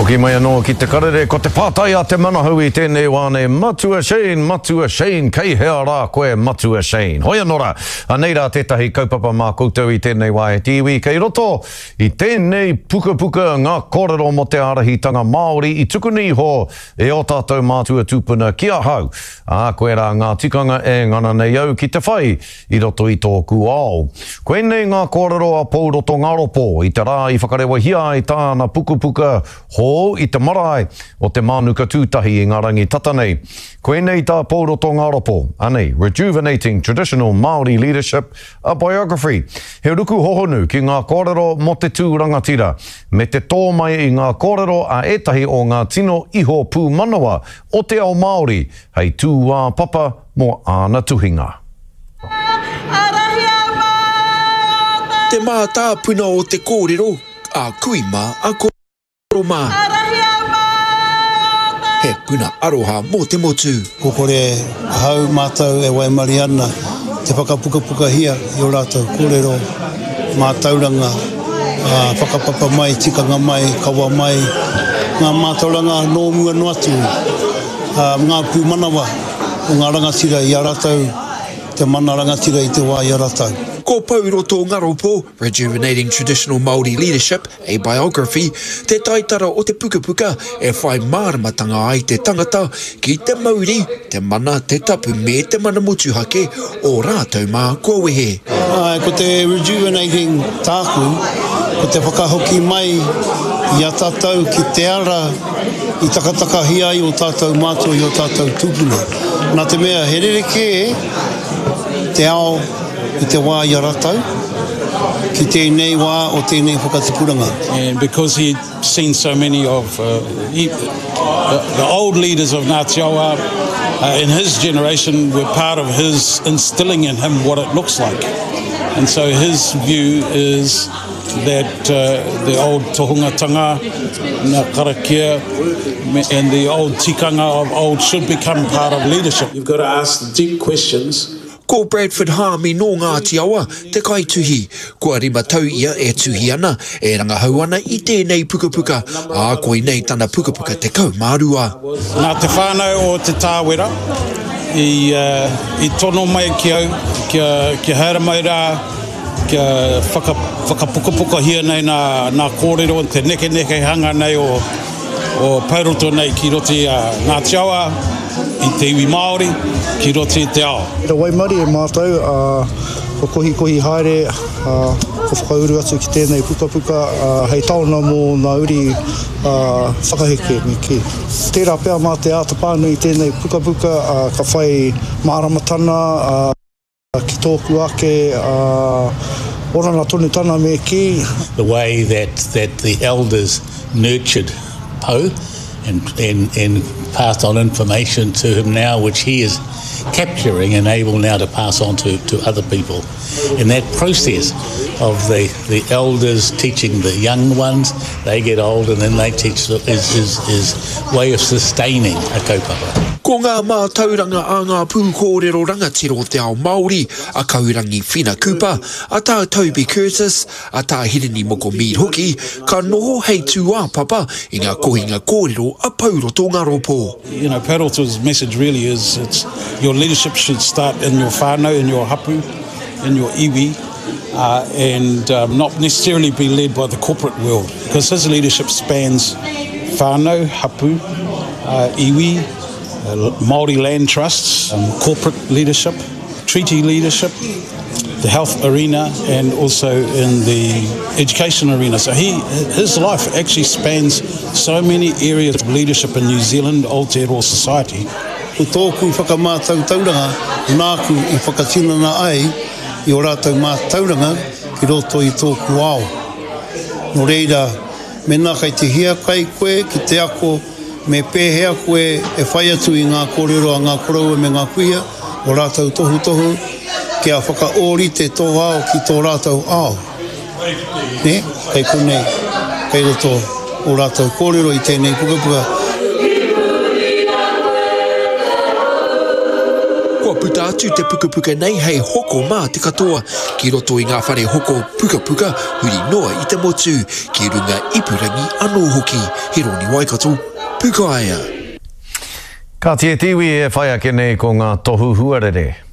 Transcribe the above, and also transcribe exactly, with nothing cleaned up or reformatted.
Hoki mai anō ki te karere, ko te pātai a te manahau i tēnei wā nei, Matua Shane, Matua Shane, kei hea rā koe Matua Shane. Hoi anō rā, anei rā tētahi kaupapa mā koutou i tēnei wā e te iwi, kei roto i tēnei pukapuka ngā kōrero mō te ārahitanga Māori i tukuna iho e ō tātou mātua tūpuna ki ahau. Ā, koe rā ngā tikanga e ngana nei au ki te whai i roto i tōku ao. Koinei ngā kōrero a Pouroto Ngaropo i te rā i whakarewahia ai tāna pukapuka hou i te marae o te Mānuka Tūtahi i ngā rangi tata nei. Koinei tā Pouroto Ngaropo, anei, Rejuvenating Traditional Māori Leadership, a Biography. He ruku hohonu ki ngā kōrero mō te tū rangatira, me te tō mai i ngā kōrero a ētahi o ngā tino iho pūmanawa o te ao Māori, hei tūāpapa mō āna tuhinga. Te mātāpuna o te kōrero, a kui mā, a koro mā. He puna aroha mō te motu. Ko kore hau mātou e waimari ana te whakapukapukahia i o rātou kōrero, mātauranga, whakapapa mai, tikanga mai, kawa mai, ngā mātauranga nō mua noa atu, ngā pūmanawa o ngā rangatira i a rātou, te mana rangatira i te wā i a rātou. Ko Pouroto Ngaropo, Rejuvenating Traditional Māori Leadership, a Biography, te taitara o te pukapuka e whai māramatanga ai te tangata ki te mauri, te mana, te tapu me te mana motuhake o rātou mā kua wehe. Ai, ko te rejuvenating tāku, ko te whakahoki mai i a tātou ki te ara i takatakahia ai o tātou mātua i o tātou tūpuna. Nā te mea he rerekē te ao i te wā i a rātou, ki tēnei wā o tēnei whakatipuranga. And because he'd seen so many of uh, he, the, the old leaders of Ngāti Awa uh, in his generation were part of his instilling in him what it looks like. And so his view is that uh, the old tohungatanga, ngā karakia, and the old tikanga of old should become part of leadership. You've got to ask the deep questions. Ko Bradford Haami nō Ngāti Awa, te kaituhi. Kua rima tau ia e tuhi ana, e rangahau ana i tēnei pukapuka, ā koinei tana pukapuka tekau mā rua. Nā te whānau o Te Tāwera i, uh, i tono mai ki au, kia, kia haere mai rā, kia whaka, whakapukapukahia nei nā, nā kōrero te nekenekehanga nei o, o Pouroto nei ki roto i a Ngāti Awa, i te iwi Māori, ki roto i te ao. Te waimari e mātou, uh, ko kohikohi haere, uh, ko whakauru atu ki tēnei pukapuka, uh, hei taona mō ngā uri uh, whakaheke me kī. Tērā pea mā te āta pānui i tēnei pukapuka, uh, ka whai māramatana uh, ki tōku ake, uh, oranga tonu tana me kī. The way that, that the elders nurtured Pou and, and, and passed on information to him now, which he is capturing and able now to pass on to, to other people. And that process of the, the elders teaching the young ones, they get old and then they teach, the, is, is, is way of sustaining a kaupapa. Ko ngā mātauranga a ngā pūkōrero rangatira o te ao Māori, a Kaurangi Whina Cooper, a tā Toby Curtis, a tā Hirini Moko Mead hoki, ka noho hei tūāpapa i ngā kohinga kōrero a Pouroto Ngaropo. You know, Pouroto's message really is it's your leadership should start in your whānau, in your hapu, in your iwi, uh, and um, not necessarily be led by the corporate world, because his leadership spans whānau, hapu, uh, iwi, uh, Māori land trusts, um, corporate leadership, treaty leadership, the health arena, and also in the education arena. So he, his life actually spans so many areas of leadership in New Zealand, Aotearoa society. Ko tōku whakamātautauranga nāku i whakatinana ai i o rātou mātauranga ki roto i tōku ao. Nō reira, mēnā kai te hiakai koe ki te ako, me pēhea koe e whai atu i ngā kōrero a ngā koroua me ngā kuia, o rātou tohutohu, kia whakaōrite tō ao ki tō rātou ao. Ne? Kei konei, kei roto o rātou kōrero i tēnei pukapuka. Kua puta atu te pukapuka nei hei hoko mā te katoa ki roto i ngā whare hoko pukapuka huri noa i te motu, ki runga ipurangi anō hoki. Hironi Waikato, Pūkaea. Kāti e te iwi e whai ake nei ko ngā tohu huarere.